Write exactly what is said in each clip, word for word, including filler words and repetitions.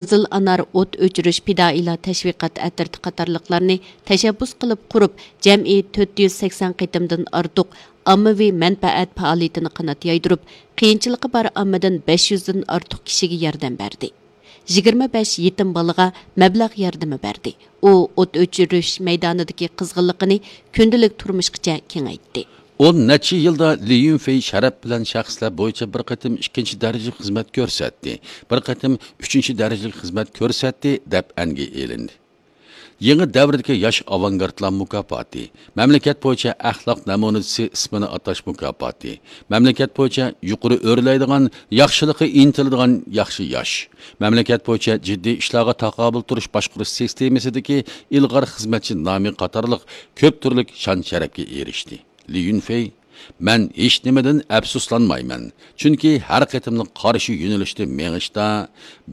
قىزىل ئانار، ئوت ئۆچۈرۈش، پىدائىيلار تەشۋىقات ئەترىتى قاتارلىقلارنى تەشەببۇس قىلىپ قۇرۇپ، جەمئىي تۆت يۈز سەكسەن قېتىمدىن ئارتۇق ئاممىۋى مەنپەئەت پائالىيىتىنى قانات يايدۇرۇپ، قىيىنچىلىقى بار ئاممىدىن بەش يۈزدىن ئارتۇق كىشىگە ياردەم بەردى. يىگىرمە بەش يېتىم بالىغا مەبلەغ ياردىمى بەردى. ئۇ ئوت ئۆچۈرۈش مەيدانىدىكى قىزغىنلىقىنى كۈندىلىك تۇرمۇشقىچە كېڭەيتتى. ئون نەچچە يىلدا لى يۈنفېي شەرەپ بىلەن شەخسلەر بويىچە بىر قېتىم ئىككىنچى دەرىجىلىك خىزمەت كۆرسەتتى، بىر قېتىم ئۈچىنچى دەرىجىلىك خىزمەت كۆرسەتتى، دەپ ئەنگە ئېلىندى. يېڭى دەۋردىكى ياش ئاۋانگارتلار مۇكاپاتى، مەملىكەت بويىچە ئەخلاق نەمۇنىسى ئىسمىنى ئاتاش مۇكاپاتى، مەملىكەت بويىچە يۇقىرى ئۆرلەيدىغان، ياخشىلىققا ئىنتىلىدىغان ياخشى ياش، مەملىكەت بويىچە جىددىي ئىشلارغا تاقابىل تۇرۇش باشقۇرۇش سىستېمىسىدىكى ئىلغار خىزمەتچى نامى قاتارلىق كۆپ تۈرلۈك شان-شەرەپكە ئېرىشتى. لى يۈنفېي، مەن ھېچنېمىدىن ئەپسۇسلانمايمەن، چۈنكى ھەر قېتىملىق قارشى يۆنىلىشتە مېڭىشتا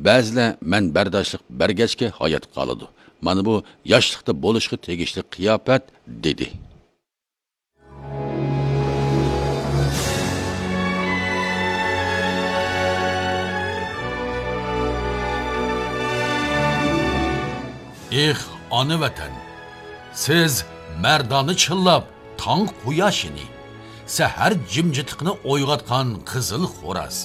بەزىلەر مەن بەرداشلىق بەرگەچكە ھايات قالىدۇ. مانا بۇ ياشلىقتا بولۇشقا تېگىشلىك قىياپەت، دېدى. ئېھ، ئانا ۋەتەن! سىز مەردانە چىللاپ، تاڭ قۇياشىنى، سەھەر جىمجىتلىقىنى ئويغاتقان قىزىل خوراز.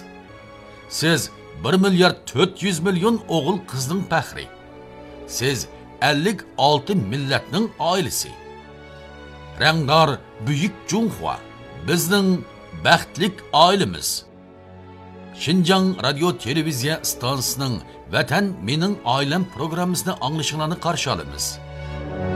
سىز بىر مىليارد تۆت يۈز مىليون ئوغۇل قىزنىڭ پەخرى. سىز ئەللىك ئالتە مىللەتنىڭ ئائىلىسى. رەڭدار بۈيۈك جۇڭخۇا، بىزنىڭ بەختلىك ئائىلىمىز. شىنجاڭ رادىيو تېلېۋىزىيە ئىستانسىسىنىڭ ۋەتەن مېنىڭ ئائىلەم پروگراممىسىنى ئاڭلىشىڭلارنى قارشى ئالىمىز.